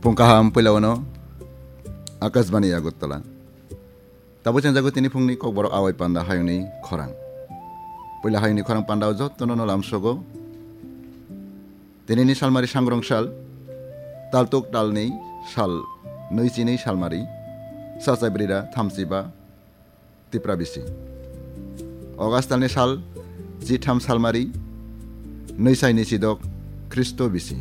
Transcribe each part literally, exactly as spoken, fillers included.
Phung kaham puila wano Akashbani Agartala. Tabuk chengjago tini phungni kokborok awai panda hayungni khorang. Puila hayungni khorang pandao jottono no lamsogo. Tinini salmari sangrong sal, taltuk talni sal, nui chini salmari, sachai brira thamchiba, Tipra bisi. August talni sal, chitham salmari, nui sai ni sidok, Khristo bisi.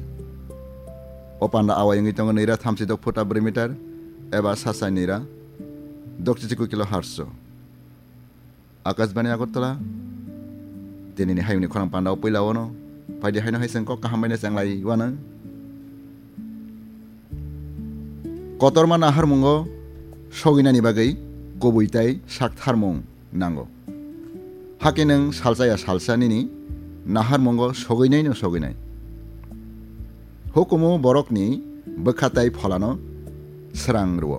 O panda awai wngwi tongo nui ra thamchi dok phuta bwrwi meter, eba sachai nui ra, dok chichi kilo harso. Akashbani Agartala, tinini hayungni khorang pandao puila wano, phaidi haino hai chwng kok kaham baino chenglai wano. Kotorma naharmungo soginani bagwi kubui tai saktharmung nango. Hakhe nwng salsa ya salsa nini naharmungo soginai no soginai. Hukumu borokni bwkha tai pholano srang rwo.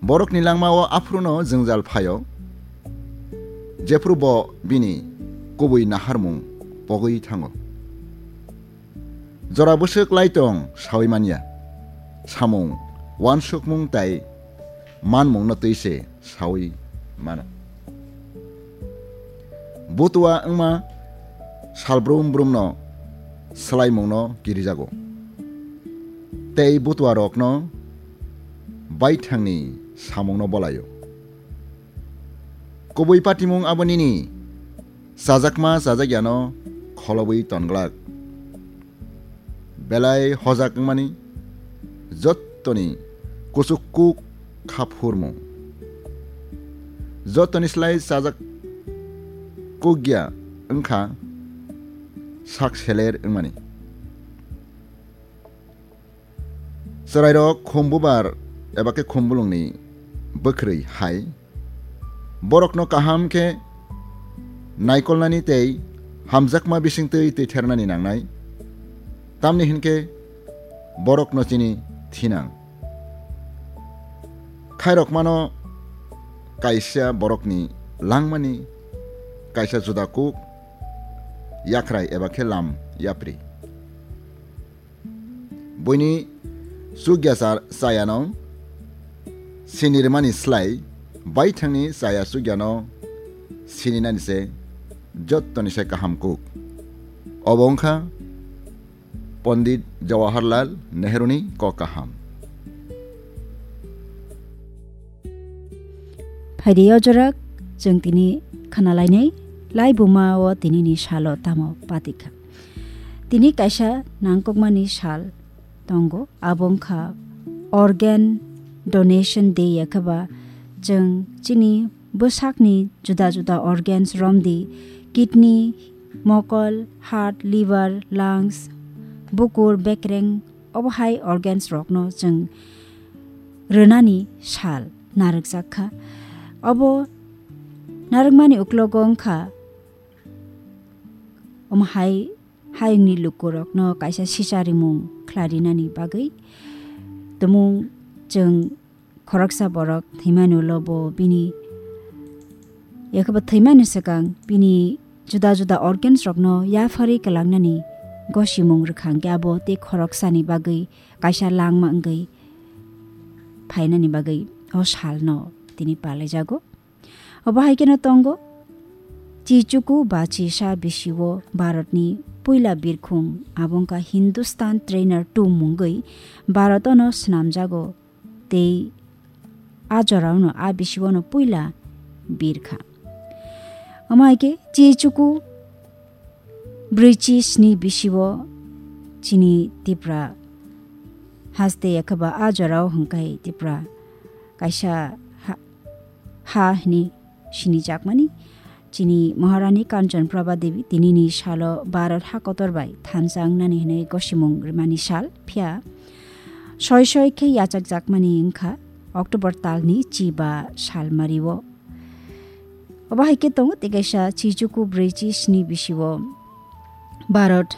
Borokni langmao aphruno jwngjal phaio, jephru bo bini kubui naharmung pogwi thango. Jora bwswk lai tong saui manya, samung, uansukmung tai manmungno twi se saui mano. Butua wngma sal brum brumno swlaimungno kirijago, tei butuarokno baithangni samungno bolaio. Kubui patimung abo nini chajakma chajakyano kholobwi tonglak. Belai hojak wngmani jottoni kuchuk kuk kha phurmung. Jottoni slai chajak kukya wngkha sak seler wngmani. Chwrairok khum bubar eba khe khum bulungni bwkhwrwi hai borokno kaham khe naikolnani tei hamjakma bisingtwi twithernani nangnai, tamni hinkhe borokno chini thinang. Khairokmano kaisa borokni langmani kaisa juda kuk, yakhrai eba khe lam yapri. Buini chukya cha-, chayano sini rwmani slai baithangni chaya chukyano sininani se jottoni se kaham kuk. Obo wngkha Pondit Jawaharlal Nehruni kok kaham. Phaidi o jora chwng tini khwnalainai, laibuma o tinini salo tamo patikha. Tini kaisa nangkukmani sal tongo, abo wngkha Organ Donation Day, yakhaba chwng chini bwsakni juda juda organs romdi, kidney, mokol, heart, liver, lungs, bukur, bekreng, obo hai organs rokno chwng rwnani sal narwkjak kha. Obo narwkmani uklogo wngkha omo hai hayungni lukurokno kaisa sicharimung khlarinani bagwi. Tumung chwng khoroksa borok thwimani ulo bo bini, yakhaba thwimani swkang bini juda juda organs rokno yapharwi kwlangnani gosimung rwkha, hwnkhe abo tei khoroksani bagwi kaisa langma wngwi phainani bagwi o salno tini palaijago. Obo hai kheno tongo, Chichuku ba Chisa bisio Bharatni puila birkhung, abo wngkha Hindustan Trainer two mungwi Bharat-ono swnamjago tei a jorao'-no a bisio'-no puila birkha. Omo hai khe Chichuku brwichi sni bisio chini Tipra haste, yakhaba a jorao hwnkhe Tipra kaisa ha, ha hwnwi sinijakmani. Chini Maharani Kanchan Prabha Devi tinini salo Bharat ha kotor bai thansa wngnani hwnwi gosimung rwmani sal, phiya soi soi khe yachakjakmani wngkha October talni chiba salmario. Obo hai khe tongo tei kaisa Chichuku brwichi sni bisio Bharat